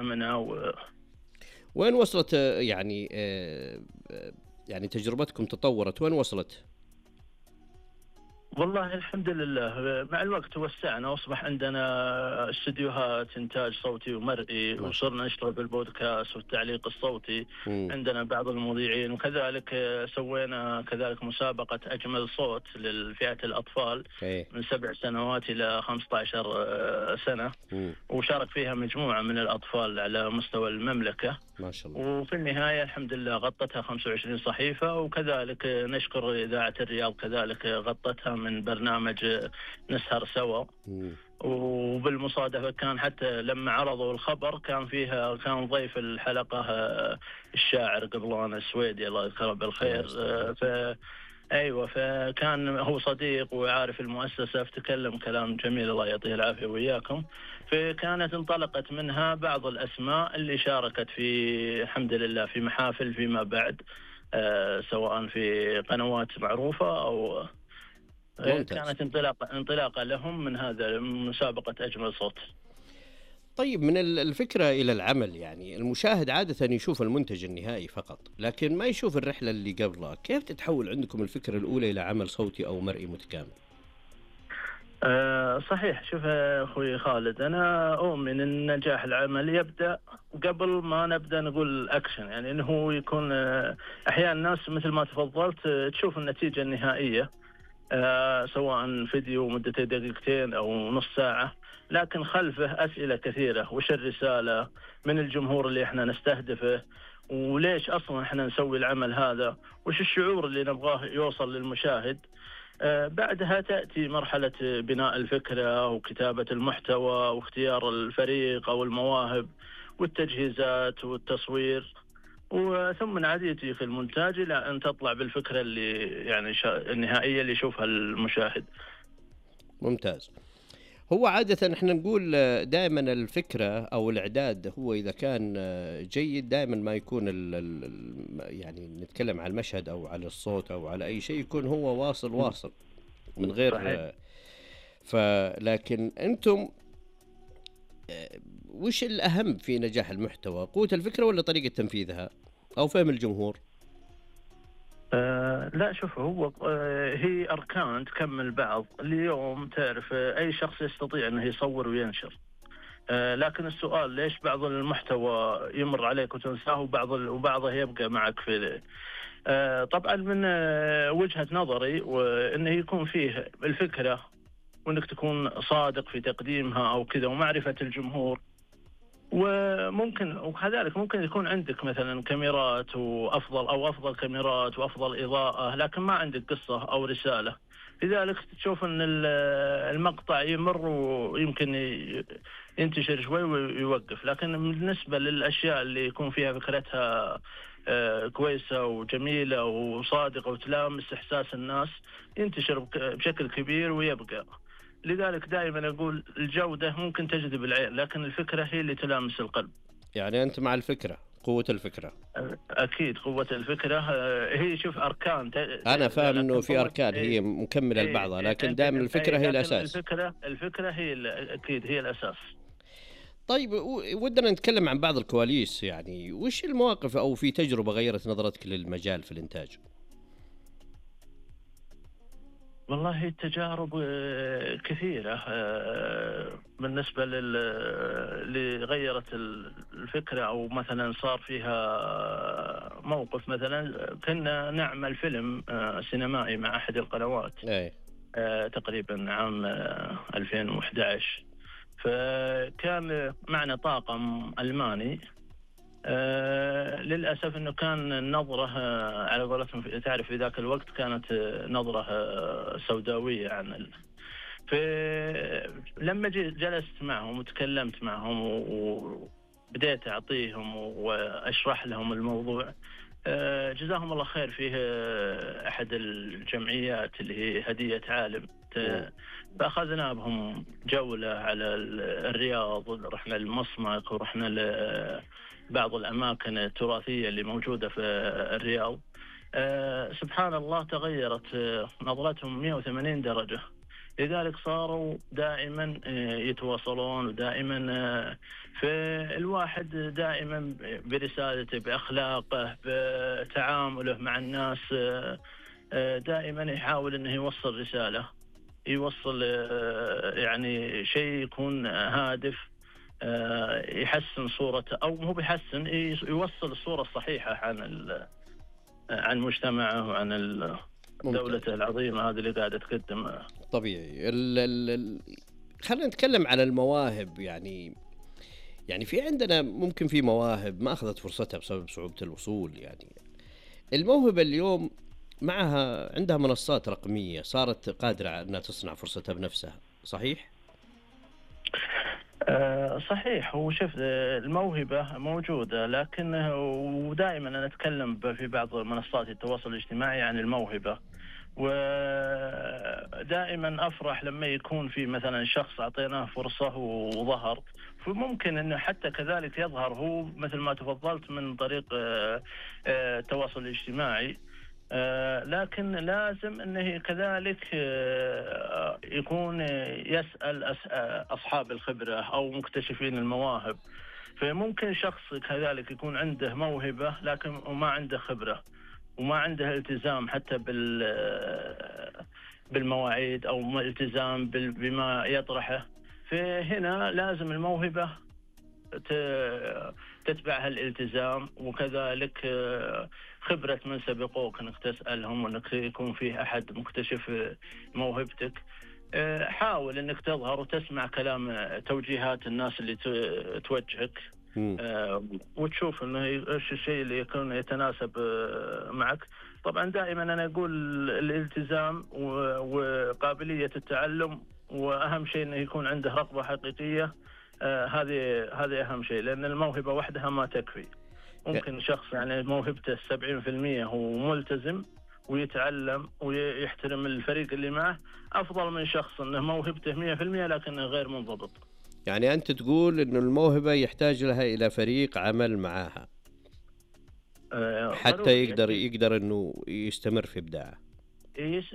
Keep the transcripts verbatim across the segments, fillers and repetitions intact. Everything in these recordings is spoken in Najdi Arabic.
منها و... وين وصلت آه، يعني آه، آه، يعني تجربتكم تطورت وين وصلت؟ والله الحمد لله مع الوقت توسعنا وأصبح عندنا استديوهات إنتاج صوتي ومرئي، ما شاء وصرنا نشتغل بالبودكاست والتعليق الصوتي. الله. عندنا بعض المذيعين، وكذلك سوينا كذلك مسابقة أجمل صوت للفئة الأطفال ايه. من سبع سنوات إلى خمسة عشر سنة، مم. وشارك فيها مجموعة من الأطفال على مستوى المملكة. ما شاء الله. وفي النهاية الحمد لله غطتها خمسة وعشرين صحيفة، وكذلك نشكر إذاعة الرياض كذلك غطتها من برنامج نسهر سوا. مم. وبالمصادفة كان حتى لما عرضوا الخبر كان فيها كان ضيف الحلقة الشاعر قبلان السويدي الله يذكره بالخير. ف أيوة، فكان هو صديق وعارف المؤسسة، فتكلم كلام جميل الله يعطيه العافية وإياكم. فكانت انطلقت منها بعض الأسماء اللي شاركت في الحمد لله في محافل فيما بعد، آه سواء في قنوات معروفة أو ممتاز. كانت انطلاقة انطلاقة لهم من هذا مسابقة أجمل صوت. طيب من الفكرة إلى العمل، يعني المشاهد عادة يشوف المنتج النهائي فقط لكن ما يشوف الرحلة اللي قبلها. كيف تتحول عندكم الفكرة الأولى إلى عمل صوتي أو مرئي متكامل؟ أه صحيح. شوف يا أخوي خالد، أنا أؤمن أن نجاح العمل يبدأ قبل ما نبدأ نقول أكشن، يعني أنه يكون أحيانا الناس مثل ما تفضلت تشوف النتيجة النهائية أه سواء فيديو مدته دقيقتين أو نص ساعة، لكن خلفه أسئلة كثيرة. وش الرسالة من الجمهور اللي احنا نستهدفه، وليش أصلا احنا نسوي العمل هذا، وش الشعور اللي نبغاه يوصل للمشاهد. آه بعدها تأتي مرحلة بناء الفكرة وكتابة المحتوى واختيار الفريق أو المواهب والتجهيزات والتصوير، وثم عاد يجي في المونتاج إلى أن تطلع بالفكرة اللي يعني النهائية اللي يشوفها المشاهد. ممتاز. هو عادة احنا نقول دائما الفكرة او الاعداد هو اذا كان جيد دائما ما يكون ال ال يعني نتكلم على المشهد او على الصوت او على اي شيء يكون هو واصل واصل من غير صحيح. فلكن انتم وش الاهم في نجاح المحتوى؟ قوة الفكرة ولا طريقة تنفيذها او فهم الجمهور؟ آه لا شوف، هو آه هي أركان تكمل بعض. اليوم تعرف آه أي شخص يستطيع أنه يصور وينشر، آه لكن السؤال ليش بعض المحتوى يمر عليك وتنساه وبعض وبعضه يبقى معك في آه طبعا من آه وجهة نظري، وأنه يكون فيه الفكرة وأنك تكون صادق في تقديمها أو كذا ومعرفة الجمهور. وممكن وكذلك ممكن يكون عندك مثلا كاميرات وأفضل أو أفضل كاميرات وأفضل إضاءة، لكن ما عندك قصة أو رسالة، لذلك تشوف أن المقطع يمر ويمكن ينتشر شوي ويوقف. لكن بالنسبة للأشياء اللي يكون فيها فكرتها كويسة وجميلة وصادقة وتلامس إحساس الناس ينتشر بشكل كبير ويبقى. لذلك دائما أقول الجودة ممكن تجذب العين، لكن الفكرة هي اللي تلامس القلب. يعني أنت مع الفكرة، قوة الفكرة. أكيد قوة الفكرة هي شوف أركان. أنا فاهم إنه في أركان هي مكملة لبعضها، لكن دائما الفكرة هي الأساس. الفكرة الفكرة هي أكيد هي الأساس. طيب ودنا نتكلم عن بعض الكواليس، يعني وش المواقف أو في تجربة غيرت نظرتك للمجال في الإنتاج؟ والله التجارب كثيرة بالنسبة اللي غيرت الفكرة، أو مثلا صار فيها موقف. مثلا كنا نعمل فيلم سينمائي مع أحد القنوات أي. تقريبا عام ألفين وإحدى عشر، فكان معنا طاقم ألماني. آه للأسف أنه كان النظرة آه على قولتهم تعرف في ذاك الوقت كانت آه نظرة آه سوداوية عن ال... فلما جلست معهم وتكلمت معهم وبدأت أعطيهم وأشرح لهم الموضوع، آه جزاهم الله خير. فيه آه أحد الجمعيات اللي هي هدية عالم، فأخذنا بهم جولة على الرياض، رحنا للمصمك ورحنا ل بعض الأماكن التراثية اللي موجودة في الرياض. أه سبحان الله تغيرت نظرتهم مئة وثمانين درجة. لذلك صاروا دائما يتواصلون، ودائما فالواحد دائما برسالته بأخلاقه بتعامله مع الناس دائما يحاول أنه يوصل رسالة، يوصل يعني شيء يكون هادف يحسن صورته، أو مو بيحسن، يوصل الصورة الصحيحة عن عن مجتمعه وعن دولته العظيمة هذه اللي قاعدة تقدم. طبيعي. ال ال خلينا نتكلم عن المواهب. يعني يعني في عندنا ممكن في مواهب ما أخذت فرصتها بسبب صعوبة الوصول. يعني الموهبة اليوم معها عندها منصات رقمية صارت قادرة أنها تصنع فرصتها بنفسها، صحيح؟ أه صحيح. هو شوف الموهبة موجودة، لكن ودائما أنا أتكلم في بعض منصات التواصل الاجتماعي عن الموهبة، ودائما أفرح لما يكون في مثلا شخص أعطيناه فرصة وظهر، فممكن أنه حتى كذلك يظهر هو مثل ما تفضلت من طريق التواصل الاجتماعي. آه لكن لازم أنه كذلك آه يكون يسأل أصحاب الخبرة أو مكتشفين المواهب. فممكن شخص كذلك يكون عنده موهبة لكن وما عنده خبرة وما عنده التزام حتى بالمواعيد أو التزام بما يطرحه. فهنا لازم الموهبة تتبعها الالتزام، وكذلك خبرة من سبقوك انك تسألهم، وانك يكون فيه احد مكتشف موهبتك. حاول انك تظهر وتسمع كلام توجيهات الناس اللي توجهك، وتشوف انه ايش الشيء اللي يكون يتناسب معك. طبعا دائما انا اقول الالتزام وقابلية التعلم، واهم شيء انه يكون عنده رغبة حقيقية. هذه هذه أهم شيء، لأن الموهبة وحدها ما تكفي. ممكن شخص يعني موهبته سبعين في المية هو ملتزم ويتعلم ويحترم الفريق اللي معه، أفضل من شخص أنه موهبته مية في المية لكنه غير منضبط. يعني أنت تقول إنه الموهبة يحتاج لها إلى فريق عمل معها حتى يقدر يقدر إنه يستمر في إبداعه.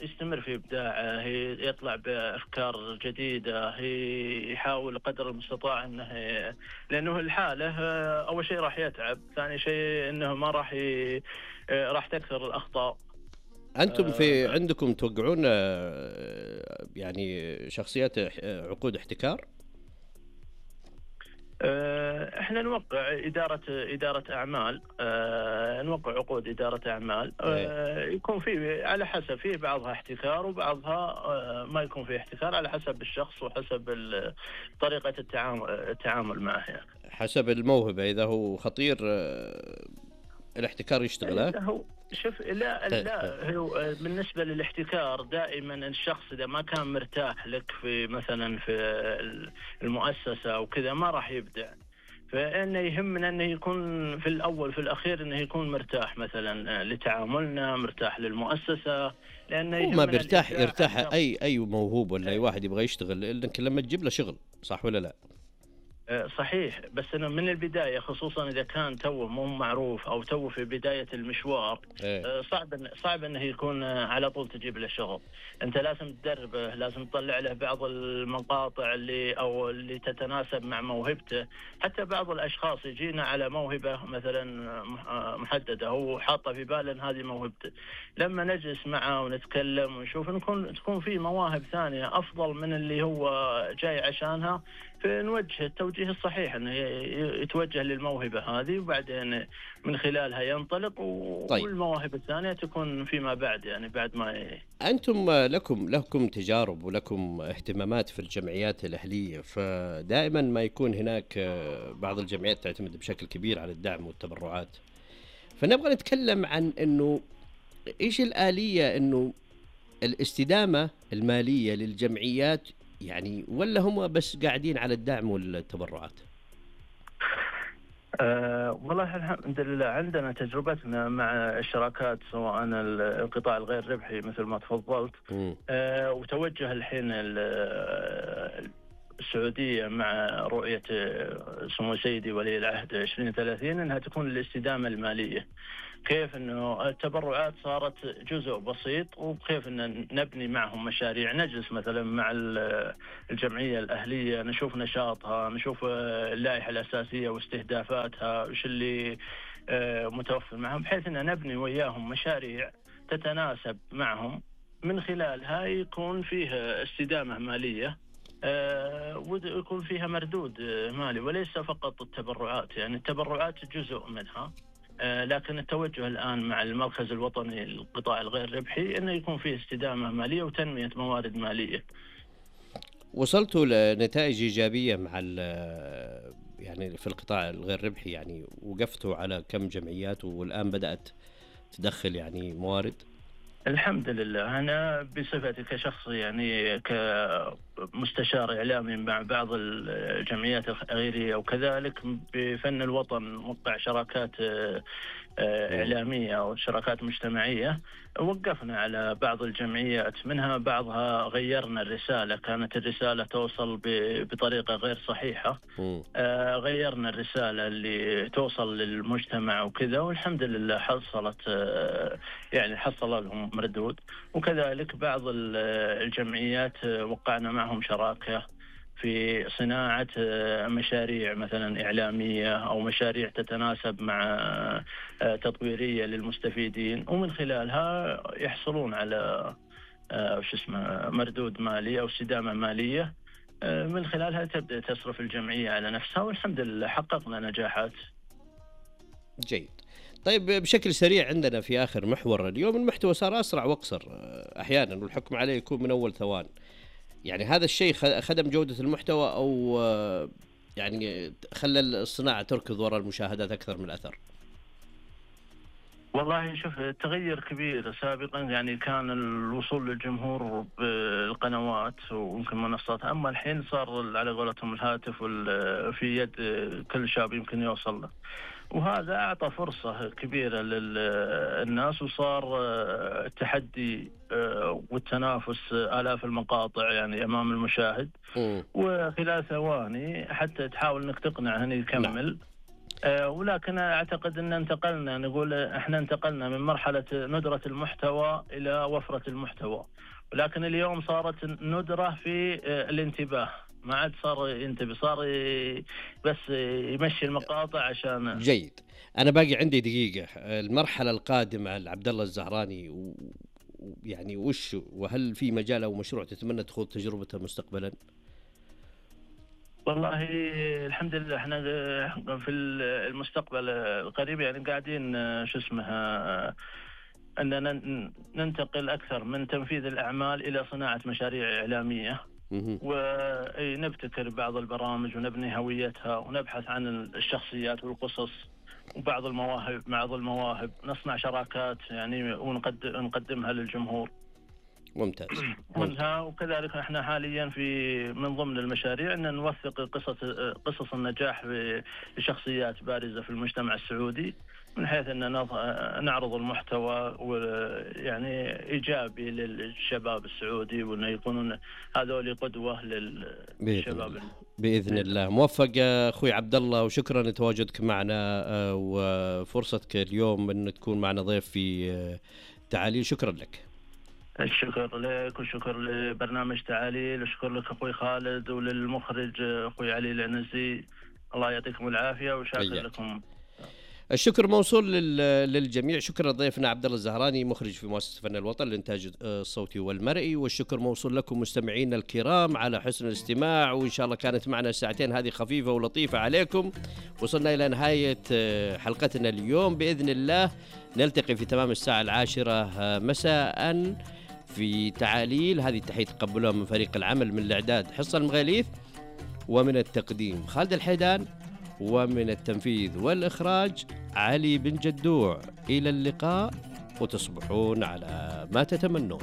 يستمر في إبداعه، يطلع بأفكار جديدة، يحاول قدر المستطاع أنه، لأنه الحالة أول شيء راح يتعب، ثاني شيء أنه ما راح ي... راح تكثر الأخطاء. أنتم في عندكم توقعون يعني شخصيات عقود احتكار؟ احنا نوقع إدارة إدارة أعمال، اه نوقع عقود إدارة أعمال، اه يكون في على حسب، في بعضها احتكار وبعضها اه ما يكون في احتكار، على حسب الشخص وحسب طريقة التعامل التعامل معه. يعني حسب الموهبة، إذا هو خطير اه الاحتكار يشتغله. شوف لا لا هو بالنسبة للاحتكار دائما الشخص إذا ما كان مرتاح لك في مثلا في المؤسسة وكذا ما راح يبدع. فإنه يهمنا أنه يكون في الأول في الأخير أنه يكون مرتاح مثلا لتعاملنا، مرتاح للمؤسسة، لأنه هو ما بيرتاح يرتاح أي أي موهوب ولا أي واحد يبغى يشتغل، إنك لما تجيب له شغل، صح ولا لا؟ صحيح، بس أنا من البداية خصوصا إذا كان توه مو معروف أو توه في بداية المشوار ايه. صعب صعب أنه يكون على طول تجيب له شغل. أنت لازم تدربه، لازم تطلع له بعض المقاطع اللي أو اللي تتناسب مع موهبته. حتى بعض الأشخاص يجينا على موهبة مثلا محددة، هو حاطة في باله هذه موهبته، لما نجلس معه ونتكلم ونشوف نكون تكون في مواهب ثانية أفضل من اللي هو جاي عشانها، فنوجه التوجيه الصحيح انه يتوجه للموهبة هذه، وبعدين من خلالها ينطلق و... طيب. والمواهب الثانية تكون فيما بعد، يعني بعد ما ي... أنتم لكم لكم تجارب ولكم اهتمامات في الجمعيات الأهلية، فدائما ما يكون هناك بعض الجمعيات تعتمد بشكل كبير على الدعم والتبرعات، فنبغى نتكلم عن أنه إيش الآلية أنه الاستدامة المالية للجمعيات، يعني ولا هم بس قاعدين على الدعم والتبرعات؟ أه والله الحمد لله عندنا تجربتنا مع الشراكات، سواء القطاع الغير ربحي مثل ما تفضلت، أه وتوجه الحين السعودية مع رؤية سمو سيدي ولي العهد عشرين ثلاثين أنها تكون الاستدامة المالية. كيف أنه التبرعات صارت جزء بسيط، وكيف أن نبني معهم مشاريع، نجلس مثلا مع الجمعية الأهلية نشوف نشاطها، نشوف اللائحة الأساسية واستهدافاتها وش اللي متوفر معهم، بحيث أن نبني وياهم مشاريع تتناسب معهم، من خلالها يكون فيها استدامة مالية ويكون فيها مردود مالي، وليس فقط التبرعات. يعني التبرعات جزء منها، لكن التوجه الآن مع المركز الوطني للقطاع الغير ربحي أنه يكون فيه استدامة مالية وتنمية موارد مالية. وصلتوا لنتائج إيجابية مع يعني في القطاع الغير ربحي؟ يعني وقفتوا على كم جمعيات والآن بدأت تدخل يعني موارد؟ الحمد لله. أنا بصفتي كشخص يعني كمستشار إعلامي مع بعض الجمعيات الغيرية، وكذلك بفن الوطن وقع شراكات إعلامية أو شراكات مجتمعية، وقفنا على بعض الجمعيات، منها بعضها غيرنا الرسالة، كانت الرسالة توصل بطريقة غير صحيحة، آه غيرنا الرسالة اللي توصل للمجتمع وكذا، والحمد لله حصلت آه يعني حصل لهم مردود. وكذلك بعض الجمعيات وقعنا معهم شراكة في صناعة مشاريع مثلا إعلامية أو مشاريع تتناسب مع تطويرية للمستفيدين، ومن خلالها يحصلون على وش اسمه مردود مالي أو استدامة مالية، من خلالها تبدأ تصرف الجمعية على نفسها، والحمد لله حققنا نجاحات. جيد. طيب بشكل سريع عندنا في آخر محور اليوم، المحتوى صار أسرع وأقصر أحيانا والحكم عليه يكون من أول ثوان، يعني هذا الشيء خدم جودة المحتوى أو يعني خلى الصناعة تركض وراء المشاهدات أكثر من الأثر؟ والله شوف، تغير كبير. سابقا يعني كان الوصول للجمهور بالقنوات ويمكن منصات، أما الحين صار على قولتهم الهاتف في يد كل شاب يمكن يوصل له، وهذا أعطى فرصة كبيرة للناس، وصار التحدي والتنافس آلاف المقاطع يعني أمام المشاهد، وخلال ثواني حتى تحاول أنك تقنع هني يكمل. أه ولكن أعتقد أن انتقلنا، نقول إحنا انتقلنا من مرحلة ندرة المحتوى إلى وفرة المحتوى، ولكن اليوم صارت ندرة في الانتباه، ما عاد صار ينتبه، صار بس يمشي المقاطع عشان. جيد. أنا باقي عندي دقيقة. المرحلة القادمة لعبد الله الزهراني يعني وش، وهل في مجال أو مشروع تتمنى تخوض تجربته مستقبلا؟ والله الحمد لله احنا في المستقبل القريب يعني قاعدين شو اسمه أننا ننتقل أكثر من تنفيذ الأعمال إلى صناعة مشاريع إعلامية، ونبتكر بعض البرامج ونبني هويتها، ونبحث عن الشخصيات والقصص وبعض المواهب بعض المواهب نصنع شراكات يعني ونقدمها للجمهور. ممتاز. منها وكذلك احنا حاليا في من ضمن المشاريع ان نوثق قصص قصص النجاح لشخصيات بارزة في المجتمع السعودي، من حيث ان نعرض المحتوى ويعني ايجابي للشباب السعودي، وانه يكونون هذول قدوة للشباب. بإذن الله. موفق أخوي عبد الله، وشكرا لتواجدك معنا وفرصتك اليوم أن تكون معنا ضيف في تعاليل. شكرا لك. الشكر لك والشكر لبرنامج تعاليل، وشكر لك أخوي خالد وللمخرج أخوي علي العنزي، الله يعطيكم العافية وشاكر لكم. الشكر موصول للجميع. شكرا لضيفنا عبد الله الزهراني مخرج في مؤسسة فن الوطن للإنتاج الصوتي والمرئي، والشكر موصول لكم مستمعينا الكرام على حسن الاستماع، وإن شاء الله كانت معنا الساعتين هذه خفيفة ولطيفة عليكم. وصلنا إلى نهاية حلقتنا اليوم بإذن الله. نلتقي في تمام الساعة العاشرة مساء في تعاليل. هذه التحية تقبلها من فريق العمل، من الإعداد حصة المغاليث، ومن التقديم خالد الحيدان، ومن التنفيذ والإخراج علي بن جدوع. إلى اللقاء، وتصبحون على ما تتمنون.